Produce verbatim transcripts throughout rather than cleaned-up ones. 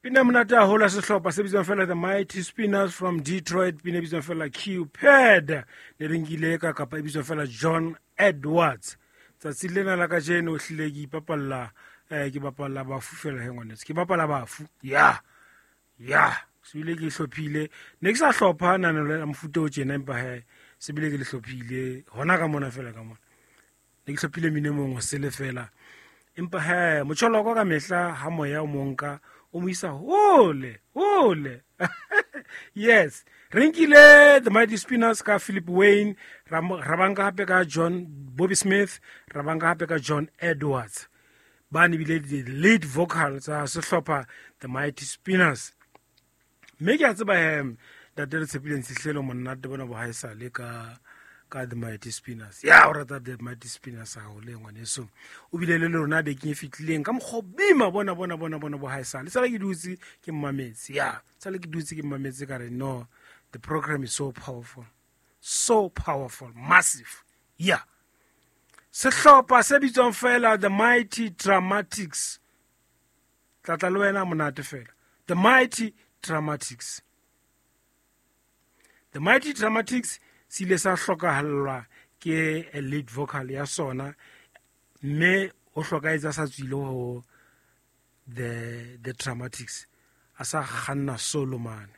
Pina monate haholo ya sehlopha se bitswang fela The Mighty Spinners from Detroit, pina e bitswang fela Cupid, ne re nkile ka kapa e bitswang fela John Edwards. Tsatsi lena la kajeno hlile ke ipapalla, eh, ke bapalla bafu fela he ngwaneso, ke bapala bafu. Ya ya sebile ke hlophile, ne ke sa hlopha nano la mofuta o tjena, empa he sebile ke le hlophile hona ka mona fela ka mona. Ne ke hlophile mino e mong o sele fela, empa he motjholoko ka mehla ha moya o monka o mo isa hole hole. Yes, re nkile The Mighty Spinners ka Philip Wayne, ra mo-, ra banka hape ka John Bobby Smith, ra banka hape ka John Edwards. Ba ne bile di lead vocal tsa sehlopha The Mighty Spinners. Mme ke a tseba he ntate re tshepileng Tshihlelo monate bona bo haesale ka, ka The Mighty Spinners. Ya, o rata The Mighty Spinners haholo e ngwaneso. O bile le lona bekeng e fetileng ka mokgwa o bima bona, bona, bona, bona bo haesale. Sale ke dutse ke mmametse. Ya, sale ke dutse ke mmametse ka re no, the program is so powerful. So powerful, massive. Ya. Sehlopha se bitswang fela The Mighty Dramatics. Tlatla le wena monate fela. The Mighty Dramatics. The Mighty Dramatics se ile sa hlokahallwa ke a lead vocal ya sona, mme o hlokahetse a sa tswile ho the, the Dramatics, a sa kganna solo mane.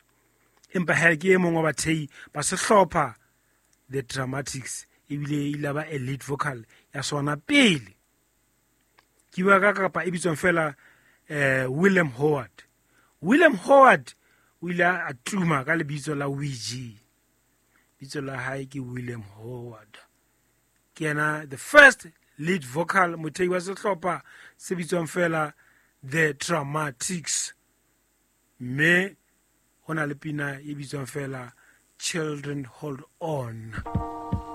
Empa he ke e mong wa bathei ba sehlopha The Dramatics, ebile e ile ba a lead vocal ya sona pele. Ke bua ka kapa e bitswang fela, eh, William Howard. William Howard o ile a tuma ka lebitso la Ouija. Bitso la hae ke William Howard. Ke yena the first lead vocal mothei wa sehlopha se bitswang fela The Dramatics. Mme ho na le pina e bitswang fela Children Hold On.